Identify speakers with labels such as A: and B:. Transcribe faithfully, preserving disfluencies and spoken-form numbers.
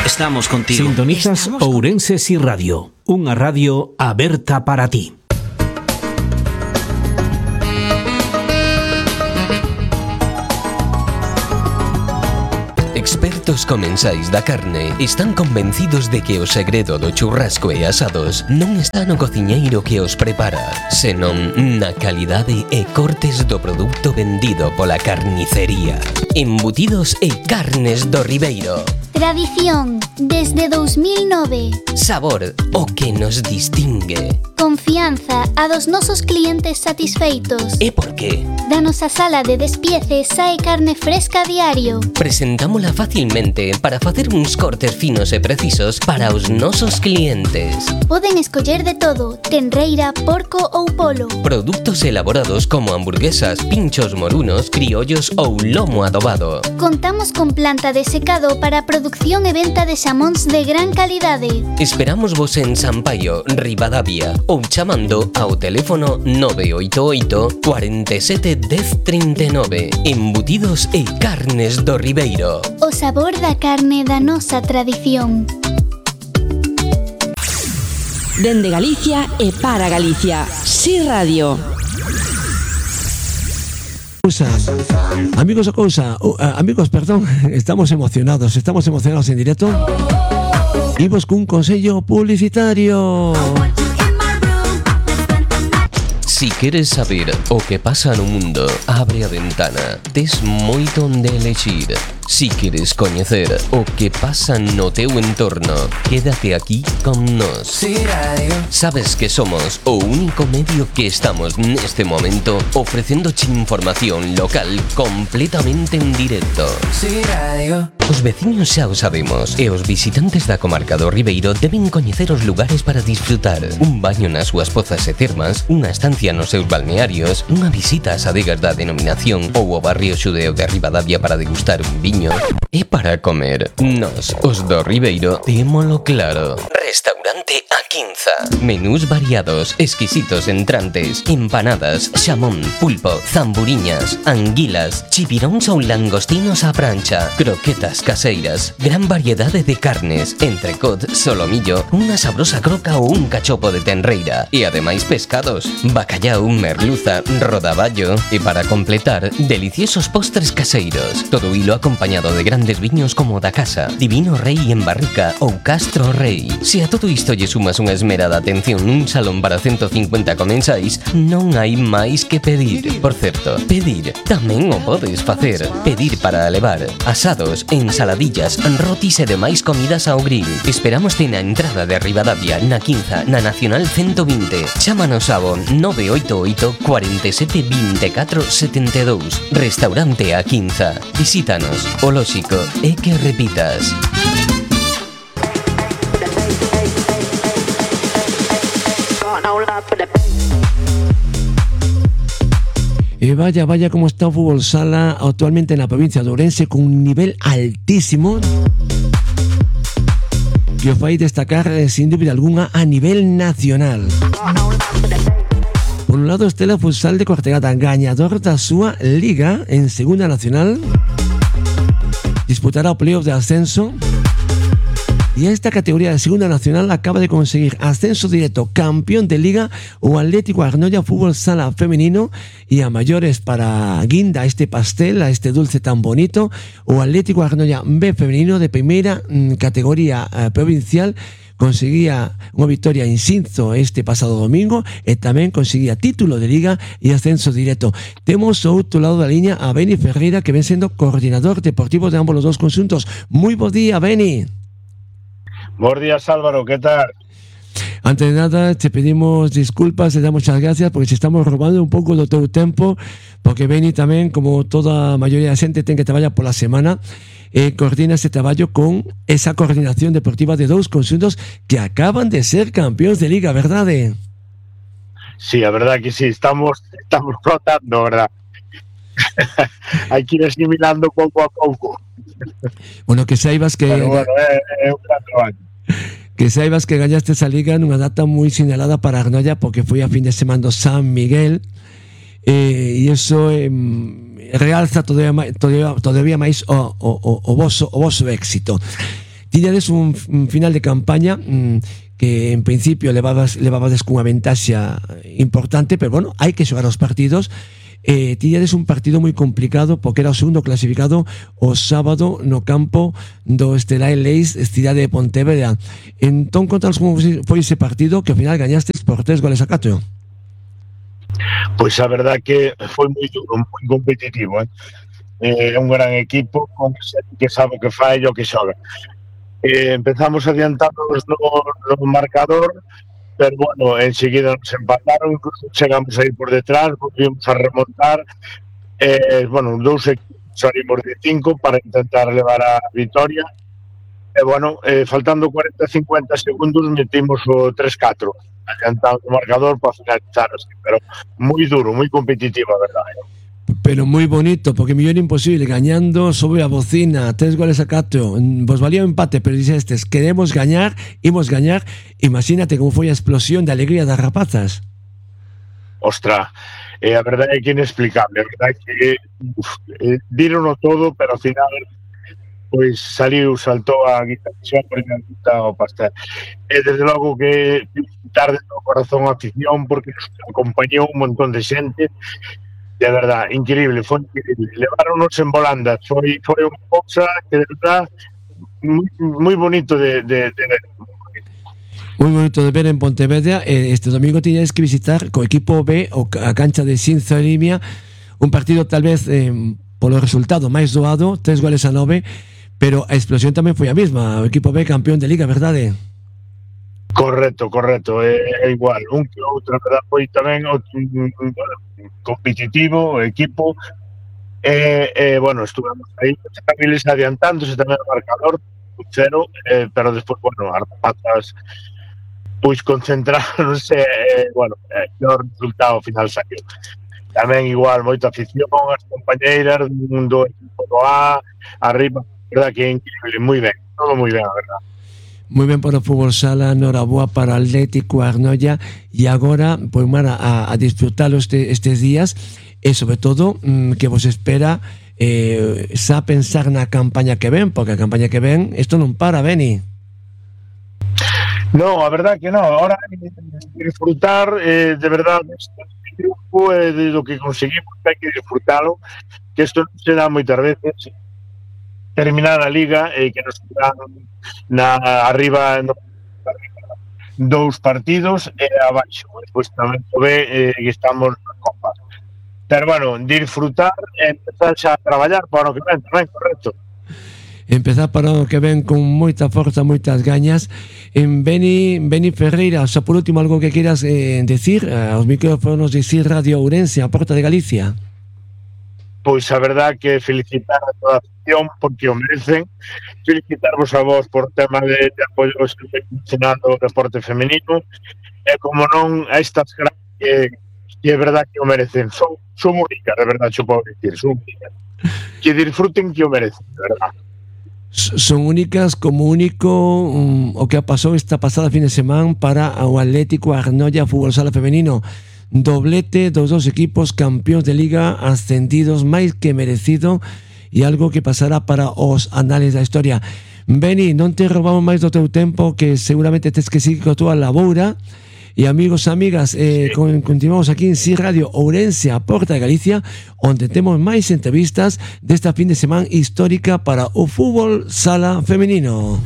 A: Estamos contigo.
B: Sintonizas
A: Estamos
B: Ourense Si Radio, unha radio aberta para ti.
C: Expertos comensais da carne están convencidos de que o segredo do churrasco e asados non está no cociñeiro que os prepara, senón na calidade e cortes do produto vendido pola carnicería. Embutidos e carnes do Ribeiro.
D: Tradición, desde dos mil nove.
C: Sabor, o que nos distingue.
D: Confianza, a dos nosos clientes satisfeitos.
C: E por qué?
D: Da nosa sala de despiece sae carne fresca a diario.
C: Presentámola facilmente para facer uns cortes finos e precisos para os nosos clientes.
D: Poden escoller de todo, tenreira, porco ou polo.
C: Produtos elaborados como hamburguesas, pinchos morunos, criollos ou lomo adobado.
D: Contamos con planta de secado para producción e venta de xamóns de gran calidade.
C: Esperamos vos en Sampaio, Ribadavia, ou chamando ao teléfono nove oito oito, cuarenta e sete, dez, trinta e nove. Embutidos e carnes do Ribeiro.
D: O sabor da carne da nosa tradición.
E: Dende Galicia e para Galicia. Si Radio.
F: Amigos o cousa, uh, amigos, perdón, estamos emocionados, estamos emocionados en directo. Imos cun consello publicitario.
C: Si queres saber o que pasa no mundo, abre a ventana. Tes moito onde elexir. Si queres coñecer o que pasa no teu entorno, quédate aquí con nós. Si Radio. Sabes que somos o único medio que estamos neste momento ofrecéndoche información local completamente en directo. Si Radio. Os veciños xa o sabemos e os visitantes da comarca do Ribeiro deben coñecer os lugares para disfrutar. Un baño nas súas pozas e termas, unha estancia nos seus balnearios, unha visita ás adegas da denominación ou ao barrio xudeo de Ribadavia para degustar un viño. E para comer, nós, os do Ribeiro, témolo claro. Restaurante A Quinza. Menús variados, exquisitos entrantes, empanadas, xamón, pulpo, zamburiñas, anguilas, chipiróns ou langostinos á prancha, croquetas caseiras, gran variedade de carnes, entrecot, solomillo, unha sabrosa croca ou un cachopo de tenreira, e ademais pescados, bacallau, merluza, rodaballo, e para completar, deliciosos postres caseiros, todo hilo acompañado de grandes viños como da casa, Divino Rei en barrica ou Castro Rei. Se a todo isto lle sumas unha esmerada atención nun salón para ciento cincuenta comensais, non hai máis que pedir. Por certo, pedir tamén o podes facer. Pedir para levar asados, ensaladillas, rotis e demais comidas ao grill. Esperámoste na entrada de Ribadavia, na Quinza, na Nacional ciento vinte. Chámanos ao nove oito oito, cuarenta e sete, veinticuatro, setenta e dous. Restaurante A Quinza. Visítanos. O lóxico é que repitas.
F: E vaya, vaya como está o fútbol sala actualmente na provincia de Ourense, con un nivel altísimo que os vai destacar sin dúbida alguna a nivel nacional. Por un lado, Estela Futsal de Cortegada, gañador da súa liga en Segunda Nacional, disputará o playoff de ascenso. Y esta categoría de Segunda Nacional acaba de conseguir ascenso directo, campeón de liga, o Atlético Arnoia Fútbol Sala femenino, y a mayores para guinda este pastel, a este dulce tan bonito, o Atlético Arnoia B femenino de primeira mmm, categoría eh, provincial. Conseguía unha victoria en Xinzo este pasado domingo e tamén conseguía título de liga e ascenso directo. Temos ao outro lado da liña a Beni Ferreira, que ven sendo coordinador deportivo de ambos os dos conxuntos. Moi bo día, Beni.
G: Bos días, Álvaro, ¿qué tal?
F: Antes de nada, te pedimos disculpas, te damos muchas gracias porque se estamos robando un pouco do teu tempo, porque Beni tamén, como toda a maioría da xente, ten que traballar pola semana. Eh, coordina este traballo con esa coordinación deportiva de dous conxuntos que acaban de ser campeóns de liga, verdade?
G: Sí, a verdad que sí, estamos estamos rotando, verdad. Hai que ir asimilando pouco a pouco.
F: Bueno, que saibas que...
G: Pero bueno, é, é un gran traballo.
F: Que saibas que gañaste esa liga nunha data moi sinalada para Arnoia, porque foi a fin de semana do San Miguel, eh, e iso... Eh, realza todavía máis, todavía, todavía máis o, o, o, voso, o voso éxito. Tiñades un, un final de campaña mmm, que en principio levabas, levabades cunha ventaxa importante, pero bueno, hai que xogar os partidos. Eh, tiñades un partido moi complicado porque era o segundo clasificado o sábado no campo do Estelar Leis, cidade de Pontevedra. Entón, contanos como foi ese partido que ao final gañastes por tres goles a catro.
G: Pois a verdad que foi moi duro, moi competitivo, eh? É un gran equipo con que sabe o que fai e o que xoga. Eh, empezamos adiantados no, no marcador, pero bueno, enseguida nos empataron, incluso chegamos aí por detrás, volvimos a remontar, eh, bueno, dous equipos salimos de cinco para intentar levar a vitoria, e bueno, eh, faltando cuarenta a cincuenta segundos metimos o tres catro, adiantado o marcador para finalizar así, pero moi duro, moi competitivo, a verdade.
F: Pero moi bonito, porque millón imposible, gañando sobre a bocina, tres goles a catro, vos valía o empate, pero dixestes, queremos gañar, imos gañar. Imagínate como foi a explosión de alegría das rapazas.
G: Ostra, eh, a verdade é que inexplicable, a verdade é que uf, eh, dírono todo, pero ao final pois saliu, saltou a guitarra por encantar o pastel. E desde logo que tarde no corazón a afición, porque nos acompañou un montón de xente. De verdad, increíble, foi increíble. Leváronos en volandas, foi, foi unha cousa que de verdad moi, moi bonito de, de, de ver.
F: Moi bonito de ver en Pontevedra. Este domingo tiñades que visitar co equipo B o a cancha de Xinzo e Limia, un partido tal vez eh, polo resultado máis doado, tres goles a nove, pero a explosión tamén foi a mesma, o equipo B campeón de Liga, verdade?
G: Correcto, correcto, é, é igual, un que outro, verdad, foi tamén o, competitivo, o equipo, e, e bueno, estuvemos aí, Cabiles adiantándose tamén o marcador, cero, eh, pero despois, bueno, as rapazas pois concentráronse, eh, bueno, eh, o resultado final saiu. Tamén igual, moita afición, as compañeiras do mundo equipo do A, arriba, verdad que é increíble, moi ben, todo moi ben, a verdad.
F: Moi ben para o fútbol sala, noraboa para o Atlético Arnoia, e agora, pois, mara, a, a disfrutalo este, estes días, e sobre todo, mmm, que vos espera eh, xa pensar na campaña que ven, porque a campaña que ven, isto non para, Beni.
G: No, a verdad que no, ahora hai que disfrutar eh, de verdad este grupo e eh, de lo que conseguimos, hai que disfrutalo, que isto non se dá moitas veces, terminar a liga e eh, que nos dan na arriba no, dous partidos e eh, abaixo, despois tamén se ve eh, que estamos na Copa. Pero bueno, disfrutar e empezar xa a traballar para o que ven tamén, correcto.
F: Empezar para o que ven con moita forza, moitas gañas. En Beni, Beni Ferreira, xa por último algo que queiras eh, decir aos micrófonos de Sir Radio Ourense, a Porta de Galicia.
G: Pois a verdad que felicitar a toda a afición porque o merecen, felicitarvos a vos por tema de, de apoio que se mencionando o deporte femenino, e como non a estas grandes que, que é verdad que o merecen, son, son únicas, de verdad, xo podo dicir, son únicas, que disfruten que o merecen, de verdad.
F: Son únicas como único um, o que ha pasado esta pasada fin de semana para o Atlético Arnoia Fútbol Sala Femenino. Doblete dos dos equipos campeóns de Liga, ascendidos máis que merecido, e algo que pasará para os anales da historia. Beni, non te roubamos máis do teu tempo, que seguramente tes que seguir coa túa laboura. E amigos e amigas, eh, sí. continuamos aquí en Sir Radio Ourense, a Porta de Galicia, onde temos máis entrevistas desta fin de semana histórica para o fútbol sala femenino.